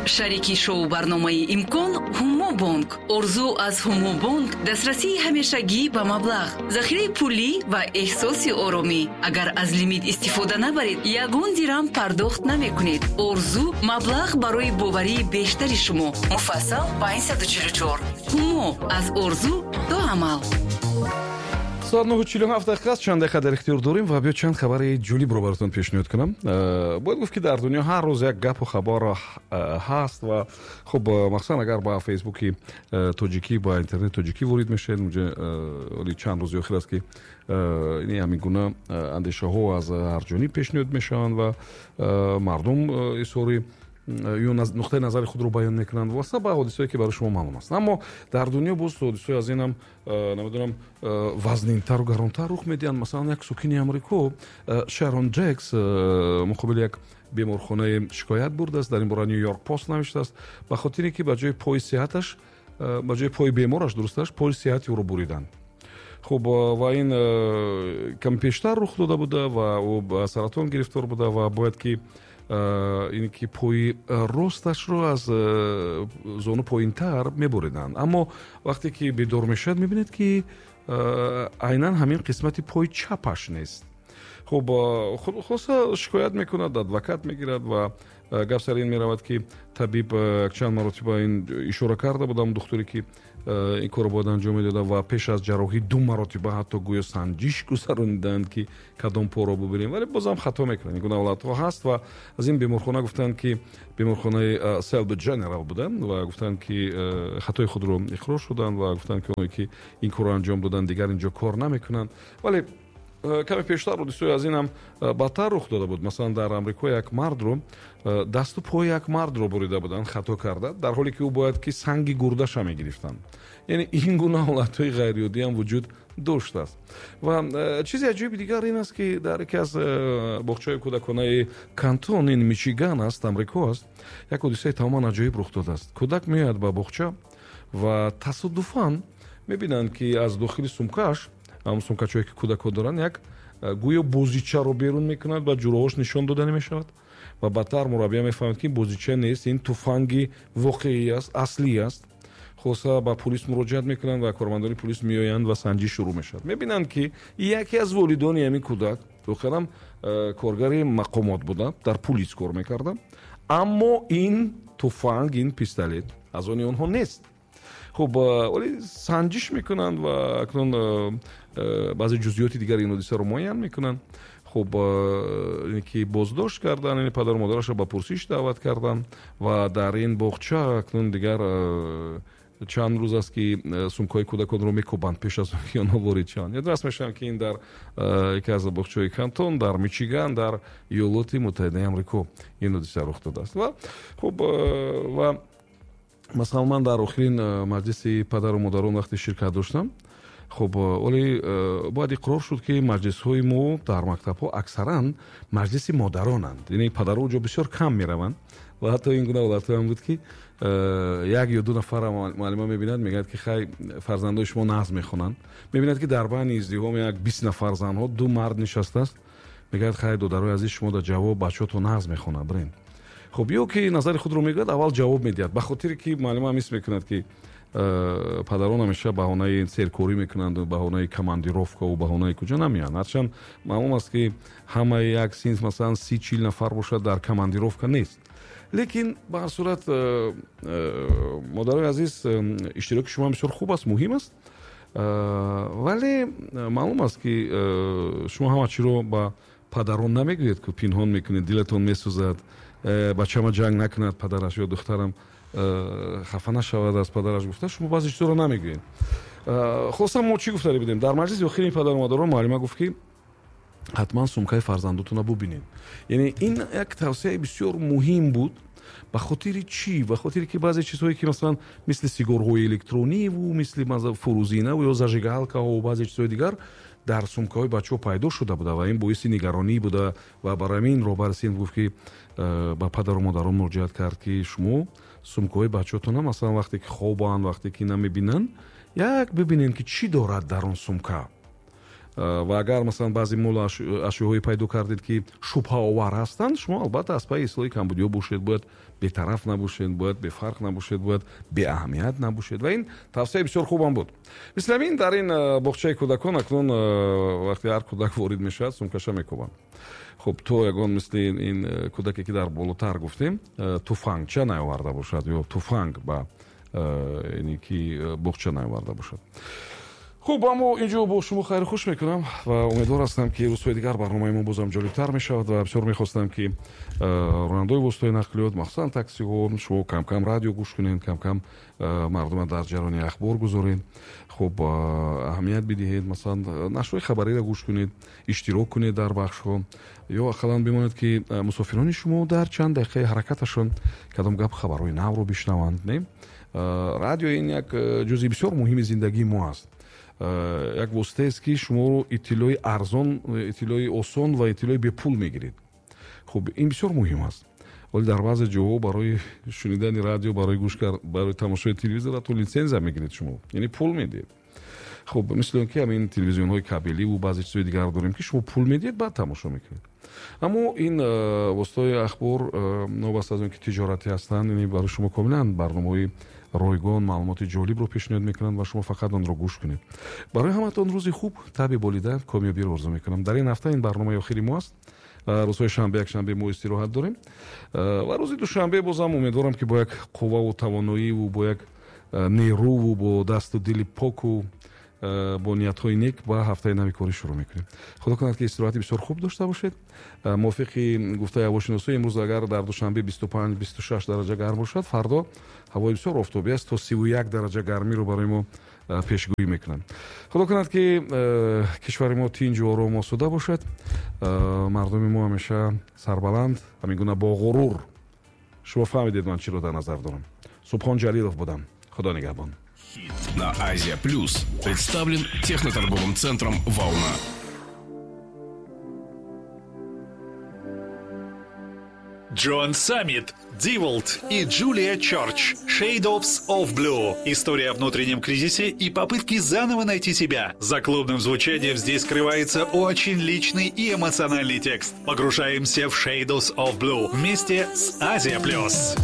Шарики шоу-барномаи «Имкон» «Ҳумобонк». Орзу аз «Ҳумобонк» дастрасии ҳамешагӣ ба маблағ, захираи пулӣ ва эҳсоси оромӣ. Агар аз лимит истифода набаред, ягон дирам пардохт намекунед. Орзу маблағ барои боварии бештари шумо. Муфассал 544. «Ҳумо» аз орзу то амал. Соат 9:47 аст, чанд дақиқа дар ихтиёр дорем ва биё чанд хабари ҷолибро баротон пешниҳод кунам. Бояд гуфт, ки дар дунё ҳар рӯз як гапу хабар ҳаст ва хуб, махсусан агар ба Фейсбуки тоҷикӣ, ба интернет тоҷикӣ ворид мешавед, унҷа оли чанд рӯзи охир аст, ки ҳамин гуна андешаҳо аз ҳар ҷониб пешниҳод мешаванд ва мардум изҳори ё нуқтаи назари худро баён мекунанд вобаста ба ҳодисае, ки барои шумо маълум аст. Аммо дар дунё боз ҳодисаи аз инам, намедонам, вазнинтару гаронтар рух медиҳанд. Масалан, як сокини Амрико, Шарон Ҷекс, муқобили як беморхонаи шикоят бурдааст. Дар ин бора Нью Йорк Пост навиштааст, ба хотире ки ба ҷои пои сеҳаташ, ба ҷои пои бемораш, дурусташ, пои сеҳати ӯро буриданд. Хуб, ва ин каме пештар рух дода буда ва ӯ ба саратон гирифтор буда ва бояд ки ин ки пои росташро аз зону поинтар мебуриданд. Аммо вақте ки бедор мешавад, мебинед, ки айнан ҳамин қисмати пои чапаш нест. Хуб, хулоса, шикоят мекунад, адвокат мегирад ва гап сари ин меравад, ки табиб чанд маротиба ин ишора карда будам, духтуре ки ин корро бояд анҷом медода, ва пеш аз ҷарроҳӣ ду маротиба ҳатто гӯё санҷиш гузарониданд, ки кадом поро бубинем, вале бозам хато мекунанд. Ин гуна ҳолатҳо ҳаст. Ва аз ин беморхона гуфтанд, ки беморхонаи Селби Дженерал буда, ва гуфтанд, ки хатои худро иқрор шуданд ва гуфтанд, ки оное ки ин корро анҷом доданд, дигар инҷо кор намекунанд. Вале каме пештар ҳодисаи аз ин ҳам бадтар рух дода буд. Масалан, дар Амрико як мардро, дасту пои як мардро бурида буданд хато карда, дар ҳоле ки ӯ бояд ки санги гурдаша мегирифтанд. Яъне ин гуна ҳолатҳои ғайриоддӣ ҳам вуҷуд доштааст. Ва чизи аҷоиби дигар ин аст, ки дар яке аз боғчаҳои кӯдаконаи Кантон, ин Мичиган аст, Амрико аст, як ҳодисаи тамоман аҷоиб рух додааст. Кӯдак меояд ба боғча ва тасодуфан мебинанд, ки аз дохили сумкааш, ҳамон сумкачое ки кӯдакҳо доранд, як гӯё бозичаро берун мекунад ва ҷуроҳош нишон дода намешавад. Ва баъдтар мураббия мефаҳмад, ки бозича нест, ин туфанги воқеӣ аст, аслӣ аст. Хулоса, ба пулис муроҷиат мекунанд ва кормандони пулис меоянд ва санҷиш шурӯъ мешавад. Мебинанд, ки яке аз волидони ҳамин кӯдак воқеан коргари мақомот буда, дар пулис кор мекарда, аммо ин туфанг, ин пистолет аз они онҳо нест. Хуб, вале санҷиш мекунанд ва акнун баъзе ҷузъиёти дигари ин ҳодисаро муайян мекунанд. Хуб, ки боздошт кардан, яъне падару модарашро ба пурсиш даъват карданд. Ва дар ин боғча акнун дигар чанд рӯз аст, ки сумкаҳои кӯдаконро мекӯбанд пеш аз он ки онҳо ворид шаванд. Ёдрас мешавам, ки ин дар яке аз боғчаҳои Кантон дар Мичиган, дар Иёлоти Муттаҳидаи Амрико ин ҳодиса рух додааст. Ва хуб, ва масалан, ман дар охирин маҷлиси падару модарон вақте ширкат доштам, хуб, вале бояд иқрор шуд, ки маҷлисҳои мо дар мактабҳо аксаран маҷлиси модаронанд, яъне падарҳо онҷо бисёр кам мераванд. Ва ҳатто ин гуна ҳолатҳоам буд, ки як ё ду нафар муаллима мебинад, мегӯяд, ки хай, фарзандои шумо нағз мехонанд. Мебинад, ки дар байни издиҳом як 20 нафар занҳо ду мард нишастааст. Мегӯяд: «Хай, додарои азиз, шумо дар ҷавоб бачаҳотон нағз мехонад, бирен». Хуб, ё ки назари худро мегӯяд, аввал ҷавоб медиҳад, ба хотире ки муаллима ҳам ҳис мекунад, ки падарон ҳамеша баҳонаи серкорӣ мекунанду баҳонаи командировкаву баҳонаи куҷо намеянд. Ҳарчанд маълум аст, ки ҳамаи як синф, масалан, 30-40 нафар бошад, дар командировка нест, лекин ба ҳар сурат, модарои азиз, иштироки шумо бисёр хуб аст, муҳим аст. Вале маълум аст, ки шумо ҳама чиро ба падарон намегӯед, ки пинҳон мекунед, дилатон месӯзад, бачама ҷанг накунад падараш ё духтарам хафа нашавад аз падараш гуфта, шумо баъзе чизоро намегӯед. Хулоса, мо чӣ гуфтаре будем? Дар маҷлиси охири падару модарон муаллима гуфт, ки ҳатман сумкаи фарзандотонро бубинед. Яъне ин як тавсияи бисёр муҳим буд. Ба хотири чӣ? Ба хотире ки баъзе чизҳое, ки масалан мисли сигорҳои электрониву мисли фурӯзинаву ё зажигалкаҳо, баъзе чизҳои дигар дар сумкаҳои бачаҳо пайдо шуда буда ва ин боиси нигаронӣ буда. Ва барои ҳамин роҳбари синф гуфт, ки ба падару модарон муроҷиат кард, ки шумо сумкаҳои бачаҳотона, масалан, вақте ки хобанд, вақте ки намебинанд, як бибинед, ки чӣ дорад дар он сумка. Ва агар, масалан, баъзе молу ашёҳое пайдо кардед, ки шубҳаовар ҳастанд, шумо албатта аз пайи ислоҳи камбудиҳо бошед, бояд бетараф набошед, бояд бефарқ набошед, бояд беаҳамият набошед. Ва ин тавсияи бисёр хубам буд. Мисли ҳамин дар ин боғчаи кӯдакон акнун вақте ҳар кӯдак ворид мешавад, сумкаша мекӯбанд. Хуб, то ягон мисли ин кӯдаке, ки дар болотар гуфтем, туфангча наоварда бошад ё туфанг ба ин ки боғча наоварда бошад. Хуб, аммо инҷо бо шумо хайру хуш мекунам ва умедвор ҳастам, ки рӯзҳои дигар барномаи мо бозам ҷолибтар мешавад. Ва бисёр мехостам, ки ронандаои воситаи нақлиёт, махсусан таксиҳо, шумо камкам радио гӯш кунед, камкам мардума дар ҷараёни ахбор гузоред, хуб, аҳамият бидиҳед, масалан, нашрҳои хабариро гӯш кунед, иштирок кунед дар бахшҳо, ё ақаллан бимонед, ки мусофирони шумо дар чанд дақиқаи ҳаракаташон кадом гап, хабарҳои навро бишнаванд. Не, радио ин як ҷузъи бисёр муҳими зиндагии мо аст, як воситаест, ки шуморо иттилои арзон, иттилои осон ва иттилои бепул мегиред. Хуб, ин бисёр муҳим аст. Вале дар баъзе ҷоҳо барои шунидани радио, барои гӯш барои тамошои телевизор ҳатто литсензия мегиред шумо, яъне пул медиҳед. Хуб, мисли он ки ҳамин телевизионҳои кабеливу баъзе чизҳои дигар дорем, ки шумо пул медиҳед, баъд тамошо мекунед. Аммо ин воситаҳои ахбор, новобаста аз он ки тиҷоратӣ ҳастанд, яъне барои шумо комилан барномаҳои ройгон, маълумоти ҷолибро пешниҳод мекунанд ва шумо фақат онро гӯш кунед. Барои ҳаматон рӯзи хуб, таби болида, комёбиро орзу мекунам. Дар ин ҳафта ин барномаи охири мо аст. Рӯзҳои шанбе, якшанбе мо истироҳат дорем ва рӯзи душанбе бозам умедворам, ки бо як қувваву тавоноиву бо як нерӯву бо дасту дили поку бо ниятҳои нек ба ҳафтаи нави корӣ шурӯъ мекунем. Худо кунад, ки истироҳати бисёр хуб дошта бошед. Мувофиқи гуфтаи ҳавошиносо, имрӯз агар дар Душанбе 25, 26 дараҷа гарм бошад, фардо ҳавои бисёр офтобӣ аст, то 31 дараҷа гармиро барои мо пешгӯӣ мекунанд. Худо кунад, ки кишвари мо тинҷу ором, осуда бошад, мардуми мо ҳамеша сарбаланд, ҳамин гуна бо ғурур. Шумо фаҳмидед, ман чиро дар назар дорам. Субҳон Ҷалилов будам, Худо нигаҳбон. На Азия Плюс представлен техноторговым центром «Волна». Джоан Саммит, Диволт и Джулия Чорч. Shades of Blue. История о внутреннем кризисе и попытке заново найти себя. За клубным звучанием здесь скрывается очень личный и эмоциональный текст. Погружаемся в Shades of Blue вместе с Азия Плюс.